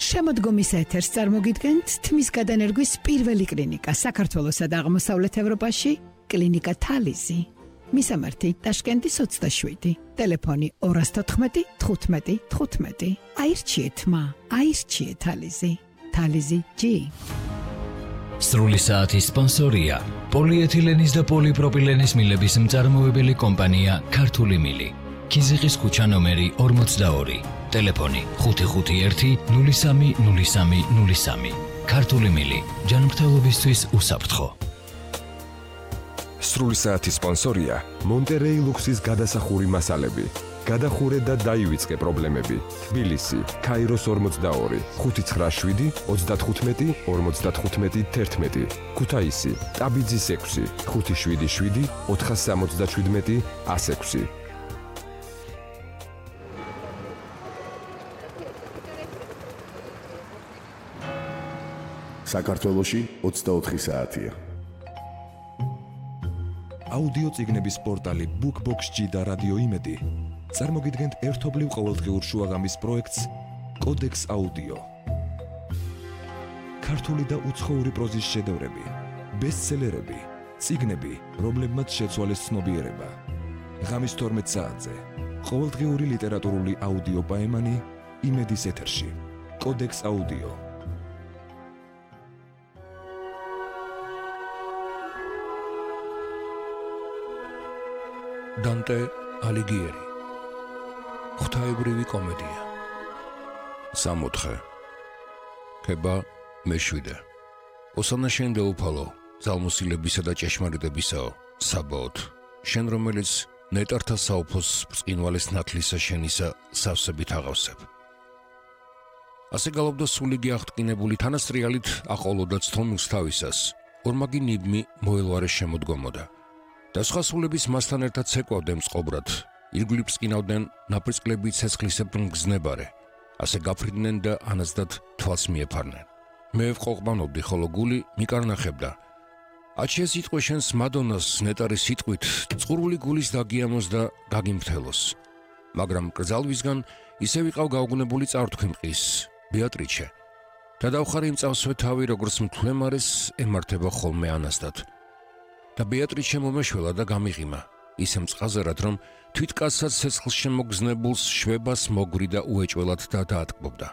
შემოდგომის ეთერს წარმოგიდგენთ თმის გადანერგვის პირველი კლინიკა საქართველოსა და აღმოსავლეთ ევროპაში, კლინიკა თალიზი. მისამართი ტაშკენტის 27, ტელეფონი 214 15 15. აირჩიეთ მა, აირჩიეთ თალიზი. თალიზი G. სრული საათის სპონსორია პოლიეთილენის და პოლიპროპილენის მილების მწარმოებელი კომპანია ქართული მილი. ქიზიყის ქუჩა ნომერი 42, ტელეფონი 551 03 03 03. ქართული მილი, ჯანმრთელობისთვის უსაფრთხო. სრული საათის სპონსორია მონტერეი ლუქსის გადასახური მასალები. გადახურე და დაივიწყე პრობლემები. თბილისი, ქაიროს 42, 597 35 55 11. ქუთაისი, ტაბიძის 6, 577 477 106. საქართველოში 24 საათია. აუდიო წიგნების პორტალი BookBox-G და რადიო იმედი წარმოგიდგენთ ერთობლივ ყოველდღიურ შუაღამის პროექტს კოდექს აუდიო. ქართული და უცხოური პროზის შედევრები, ბესტსელერები, წიგნები, რომლებმაც შეცვალეს ცნობიერება. ღამის 12 საათზე ყოველდღიური ლიტერატურული აუდიო პაემანი იმედის ეთერში. კოდექს აუდიო. დანტე ალიგიერი. ღვთაებრივი კომედია. 64. ქება მე7. ოსანა შენ დაუფალო, ძალმოსილებისა და ჭეშმარიტებისაო, საბაოთ. შენ რომელიც ნეტართა საუფოს ბრწყინვალეს ნათლისა შენისა სავსებით აღავსებ. ასე გალობდა სულიგი აღტკინებული თანასტრიალით აყოლოდა ცთომილს თავისას, ორმაგი ნიბმი მოელვარე შემოდგომოდა. და სხვა სულების მასთან ერთად ცეკვავდნენ წყობრად, ირგვლივ ბრწყინავდნენ ნაპრისკლებით ცეცხლისებრ მგზნებარე, ასე გაფრინდნენ და ანაზდად თვალს მიეფარნენ. მე ვყოყმანობდი, ხოლო გული მიკარნახებდა. აჩია სიტყვე შენს მადონას ნეტარის სიტყვით, წყურვული გულის დაგიამოს და გაგიმფრთელოს. მაგრამ კრძალვისგან ისე ვიყავ გაუგნებული წართქვიმყის, ბეატრიჩე. და დავხარე იმ წავსვე თავი, როგორც მთლემარეს ემართება ხოლმე ანაზდად. და ბეატრიჩე მომეშველა და გამიღიმა, ისე მწყაზერად, რომ თვითკაცსაც ცეცხლს შემოგზნებულს შვებას მოგვრი და უეჭველად და დაატკბობდა.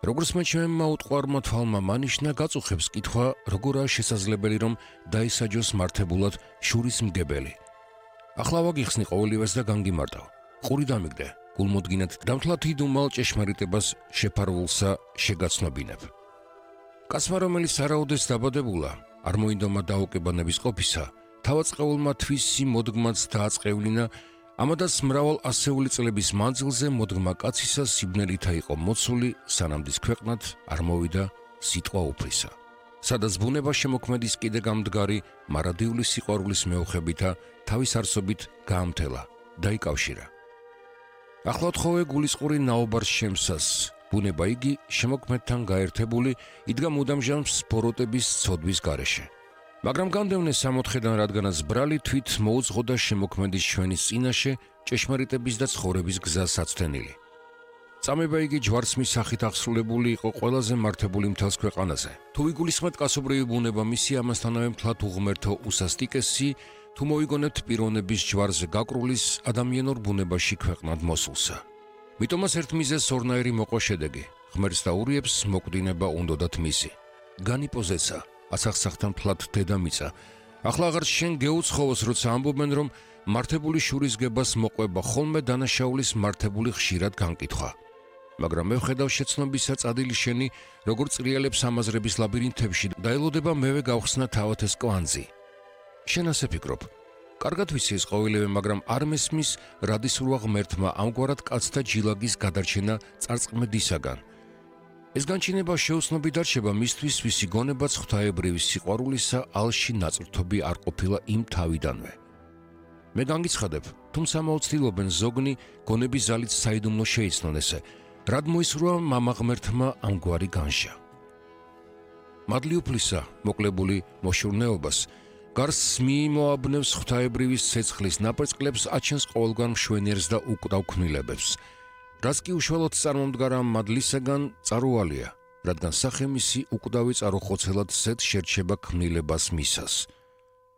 როგორც მე ჩემმა უტყვარმა თვალმა მანიშნა, გაწუხებს კითხვა, როგორაა შესაძლებელი, რომ დაისაჯოს მართებულად შურის მგებელი. ახლა ვაგიხსნი ყოველივეს და განგიმარტავ. ყური დამიგდე, გულმოდგინედ დამთლად იდუმალ ჭეშმარიტებას შეფარვულსა შეგაცნობინებ. კაცმა, რომელიც არაოდეს დაბადებულა, არ მოინდომა დაუკებანების ყოფისა, თავაწყეულმა თვისი მოდგმაც დააწყევლინა, ამადაც მრავალ ასეული წლების მანძილზე მოდგმა კაცისა სიბნელითა იყო მოცული, სანამდის ქვეყნად არ მოვიდა სიტყვა უფლისა. სადაც ბუნება შემოქმედის კიდე გამდგარი, მარადიული სიყვარულის მეუხებითა თავის არსობით გაამთელა, დაიკავშირა. ახლა თხოვე გულისყური ნაობარს შემსას, ბუნება იგი შემოქმედთან გაერთებული იდგა მუდამჟამს ბოროტების ცოდვის გარეშე. მაგრამ განდევნე 64-დან, რადგანაც ბრალი თვით მოუძღოდა შემოქმედის ჩვენის წინაშე ჭეშმარიტების და ცხოვრების გზა საცდენილი. წამება იგი ჯვარცმის სახით აღსრულებული იყო ყველაზე მართებული მთელს ქვეყანაზე. თუ ვიგულისხმეთ კაცობრიო ბუნება მისი ამასთანავე მთლად უღმერთო უსასტიკესი, თუ მოიგონებთ პიროვნების ჯვარზე გაკრულის ადამიანურ ბუნებაში ქვეყნად მოსულსა. მიტომაც ერთ მიზეზს ორნაირი მოყვა შედეგი, ღმერთს დაურიებს მოკვდინება უნდოდათ მისი. განიპოზეცა, ასახსახთან მთლად დედამიწა. ახლა აღარ შენ გეუცხოვოს, როცა ამბობენ, რომ მართებული შურის გებას მოყვება ხოლმე დანაშაულის მართებული ხშირად განკითხვა. მაგრამ მე ვხედავ შეცნობისა წადილი შენი, როგორც წრიალებს ამაზრების ლაბირინთებში და ელოდება მევე გავხსნა თავად ეს კვანძი. შენ ასე ფიქრობ. კარგად ვიცი ეს ყოველივე, მაგრამ არ მესმის რადისრუა ღმერთმა ამგვარად კაცთა ჯილაგის გადარჩენა წარწყმედისაგან. ეს განჩინება შეუცნობი დარჩება მისთვის, ვისი გონებაც ღვთაებრივი სიყვარულისა ალში ნაწვრთობი არ ყოფილა იმ თავიდანვე. მე განგიცხადებ, თუმცა მოუცდილობენ ზოგნი გონების ზალით საიდუმლო შეიცნონ ესე, რად მოისურვა მამა ღმერთმა ამგვარი განშა. მადლი უფლისა, მოკლებული მოშურნეობას, გარს მიიმოაბნევს ღვთაებრივის ცეცხლის ნაპრისკლებს, აჩენს ყოველგვარ მშვენიერს და უკვდავ ქმნილებებს. რაც კი უშუალოდ წარმომდგარა მადლისაგან წარუვალია, რადგან სახემისი უკვდავი წარუხოცელად სეთ შერჩება ქმნილებას მისას.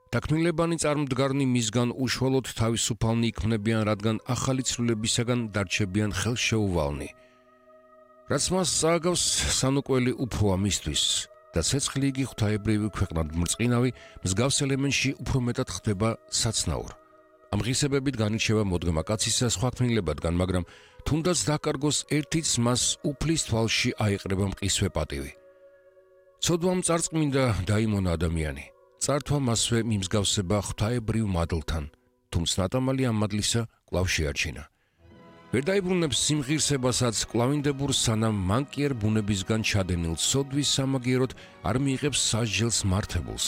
და ქმნილებანი წარმდგარნი მისგან უშუალოდ თავისუფალნი იქმნებიან, რადგან ახალი ცვლილებისაგან დარჩებიან ხელშეუვალნი. რაც მას წააგავს სანუკველი უფროა მისთვის და ცეცხლი იგი ღვთაებრივი ქვეყნად მრწყინავი მსგავს ელემენტში უფრო მეტად ხდება საცნაურ. ამ ღირსებებით განირჩევა მოდგმა კაცისა სხვა ქმნილებადგან, მაგრამ თუნდაც დაკარგოს ერთიც მას უფლის თვალში აიყრება მყისვე პატივი. ცოდვამ წარწმინდა დაიმონა ადამიანი. წართვა მასვე მიმსგავსება ღვთაებრივ მადლთან, თუმცა ნატამალი ამ მადლისა კვლავ შეარჩინა. ვერ დაიბრუნებს სიმღირსებასაც კლავინდებურ სანამ მან კი არ ბუნებისგან ჩადენილ ცოდვის სამაგიეროდ არ მიიღებს სასჯელს მართებულს.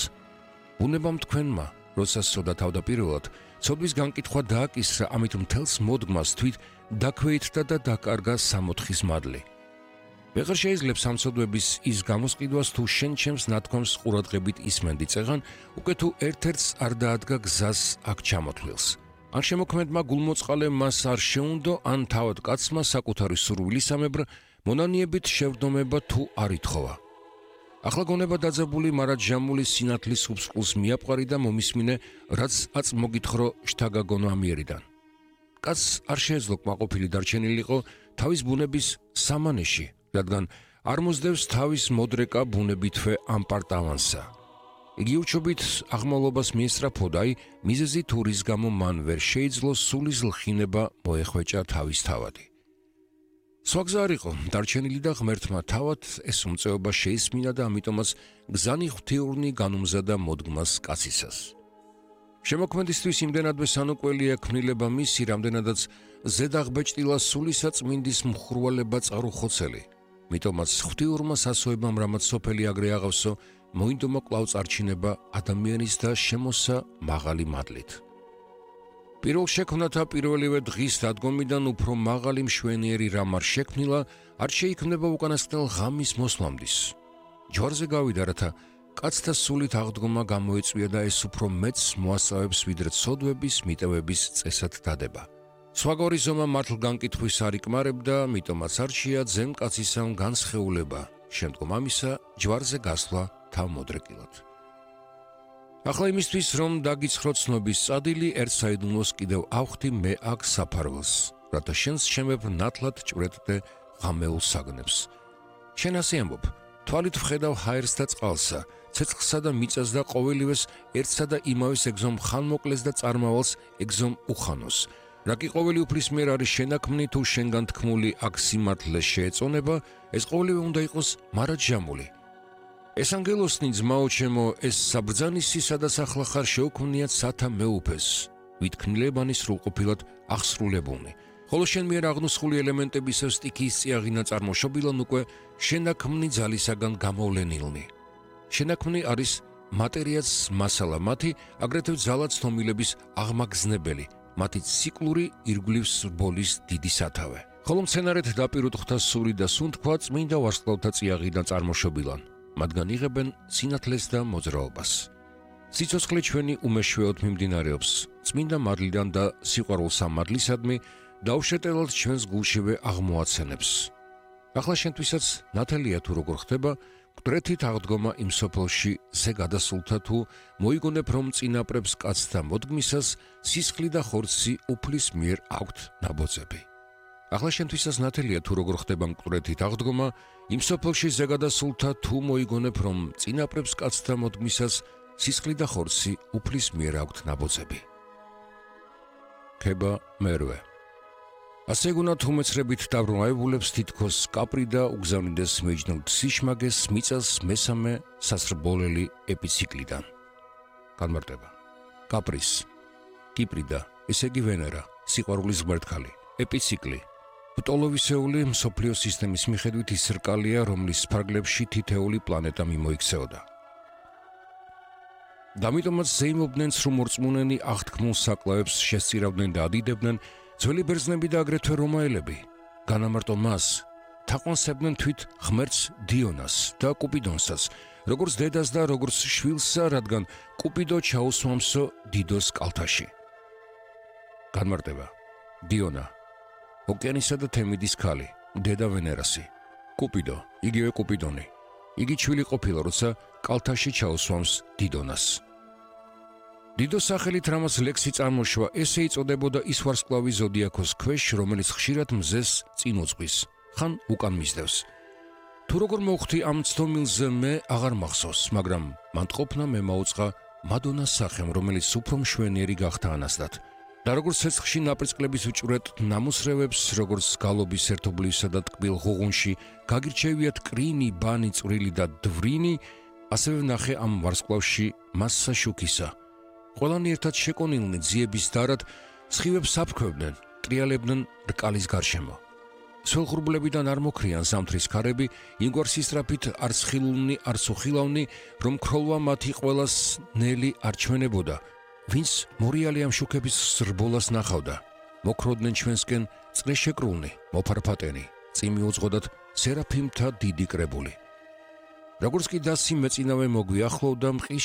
ბუნებამ თქვენმა, როცა სცოდა თავდაპირველად, ცოდვის განკითხვა დააკისრა, ამით მთელს მოდგმას თვით დაქვეითდა და დაკარგა სამოთხის მადლი. ვეღარ შეიძლება სამცოდვების ის გამოსყიდვას თუ შენ ჩემს ნათქვამს ყურადღებით ისმენდი წეღან, უკვე თუ ერთ-ერთს არ დაადგა გზას აქ ჩამოთვლილს. ან შემოქმედმა გულმოწყალე მას არ შეუნდო, ან თავად კაცმა საკუთარი სურვილისამებრ მონანიებით შევდომება თუ არ ითხოვა. ახლა გონება დაძაბული მარადჟამული სინათლის უბსყულს მიაპყარი და მომისმინე, რაც აწ მოგითხოვრო შთაგაგონო ამიერიდან. კაცს არ შეეძლო კმაყოფილი დარჩენილიყო თავის ბუნების სამანეში, რადგან არ მოსდევს თავის მოდრეკა ბუნებითვე ამპარტავანსა. იგი უჩობით აღმავლობას მიესწრაფოდა, აი მიზეზი თუ რის გამო მან ვერ შეიძლო სულის ლხინება მოეხვეჭა თავის თავადი. სხვა გზა არ იყო, დარჩენილი და ღმერთმა თავად ეს უმწეობა შეისმინა და ამიტომაც გზანი ღვთიურნი განუმზადა მოდგმას კაცისას. შემოქმედისთვის იმდენადვე სანუკველია ქმნილება მისი, რამდენადაც ზედაღბეჭდილა სულისაწმინდის მხურვალება წარუხოცელი. მიტომაც ღვთიურმა სასოებამ, რამაც სოფელი აგრე აღავსო, მოინდომა კვლავ წარჩინება ადამიანის და შემოსა მაღალი მადლით. პირველ შექმნათა პირველივე დღის დადგომიდან უფრო მაღალი მშვენიერი რამ არ შექმნილა, არ შეიქმნება უკანასკნელ ღამის მოსვლამდის. ჯვარზე გავიდა, რათა კაცთა სულით აღდგომა გამოეწვია და ეს უფრო მეც მოასწავებს, ვიდრე ცოდვების, მიტევების წესად დადება. სხვაგორი ზომა მართლ განკითხვის არ იკმარებდა, მიტომაც არჩია ძემ კაცისამ განსხეულება, შემდგომ ამისა ჯვარზე გასვლა თავმოდრეკილად. ახლა იმისთვის, რომ დაგიცხროთ ცნობის წადილი, ერთ საიდუმლოს კიდევ ავხდი მე აქ საფარველს, რათა შენს შემებრ ნათლად ჭვრეტდე ღამეულ საგნებს. შენ ასე ამბობ, თვალით ვხედავ ჰაერს და წყალსა, ცეცხლსა და მიწას და ყოველივეს ერთსა და იმავეს ეგზომ ხანმოკლეს და წარმავალს ეგზომ უხანოს. რა კი ყოველი უფლის მიერ არის შენაქმნი თუ შენგან თქმული აქ სიმართლე შეეწონება, ეს ყოველივე უნდა იყოს მარადჟამული. ეს ანგელოსნი ძმაო ჩემო, ეს საბრძანისისა და სახლახარ შეუქმნიათ სათა მეუფეს, ვით ქმნილებანი სრულყოფილად აღსრულებულნი. ხოლო შენ მიერ აღნუსხული ელემენტებისა სტიქიის წიაღინა წარმოშობილან უკვე შენაქმნი ძალისაგან გამოვლენილნი. შენაქმნი არის მატერიაც მასალა მათი, აგრეთვე ძალაც თომილების აღმაგზნებელი, მათი ციკლური ირგვლივს რბოლის დიდი სათავე. ხოლო მცენარეთ დაპირუთ ღვთასური და სუნთქვა წმინდა ვარსკვლავთა წიაღიდან წარმოშობილან. მათგან იღებენ სინათლეს და მოძრაობას. სიცოცხლე ჩვენი უმეშვეოდ მიმდინარეობს, წმინდა მადლიდან და სიყვარულს ამ მადლისადმი დაუშეტელად ჩვენს გულშივე აღმოაცენებს. ახლა შენთვისაც ნათელია თუ როგორ ხდება, მკვდრეთით აღდგომა იმ სოფელში ზე გადასულთა თუ მოიგონებ, რომ წინაპრებს კაცთა მოდგმისას სისხლი და ხორცი უფლის მიერ აქვთ ნაბოძები. ახლა შენთვისაც ნათელია თუ როგორ ხდება მკვდრეთით აღდგომა, იმ სოფელში ზე გადასულთა თუ მოიგონებ, რომ წინაპრებს კაცთა მოდგმისას სისხლი და ხორცი უფლის მიერ აქვთ ნაბოძები. ქება მერვე. ასე გუნათ უმეცრებით დაბრუნებულებს თითქოს კაპრი და უგზავნიდეს მეჯნულ სიშმაგეს მიწას მესამე სასრბოლელი ეპიციკლიდან. განმარტება. კაპრის, კიპრი და ესე იგი ვენერა, სიყვარულის ღმერთქალი, ეპიციკლი. პტოლოვისეული მსოფლიო სისტემის მიხედვით ის რკალია, რომლის ფარგლებში თითეული პლანეტა მიმოიქცეოდა. დამიტომაც ზეიმობდნენ სრუმორწმუნენი აღთქმულ საკლავებს შესწირავდნენ და ადიდებდნენ ძველი ბერძნები და აგრეთვე რომაელები. განამარტო მას, თაყვანსებდნენ თვით ღმერთს დიონას და კუპიდონსაც, როგორც დედას და როგორც შვილსა, რადგან კუპიდო ჩაუსვამსო დიდოს კალთაში. განმარტება. დიონა ოკეანისა და თემიდის ქალი, დედა ვენერასი, კუპიდო, იგივე კუპიდონი. იგი ჩვილი ყოფილა, როცა კალთაში ჩაუსვამს დიდონას. დიდოს სახელით რამაც ლექსი წარმოშვა, ესე იწოდებოდა ის ვარსკვლავი ზოდიაქოს ქვეშ, რომელიც ხშირად მზეს წინ უძღვის, ხან უკან მისდევს. თუ როგორ მოვხვდი ამ ცდომილზე მე აღარ მახსოვს, მაგრამ მან ყოფნა მე მაუწყა მადონას სახემ, რომელიც უფრო მშვენიერი გახდა ანასდად. და როგორც ცეცხლში ნაპრისკლების უჭვრეთ ნამუსრევებს, როგორც გალობის ერთობლივსა და ტკბილ ღუღუნში გაგირჩევიათ კრინი, ბანი, წვრილი და დვრინი, ასევე ვნახე ამ ვარსკვლავში მასსა შუქისა. ყველანი ერთად შეკონილნი ძიების დარად სხივებს აფრქვევდნენ, ტრიალებდნენ რკალის გარშემო. სველღრუბლებიდან არ მოქრიან ზამთრის ქარები, იმგვარ სისწრაფით არც ხილულნი, არც უხილავნი, რომ ქროლვა მათი ყველას ნელი არ ჩვენებოდა. ვინც მორიალი ამ შუქების ზრბოლას ნახავდა, მოქროდნენ ჩვენსკენ წრეშეკრულნი, მოფარფატენი, წიმი უძღოდათ სერაფიმთა დიდი კრებული. როგორც კი დასი მეწინავე მოგვიახლოვდა, მყის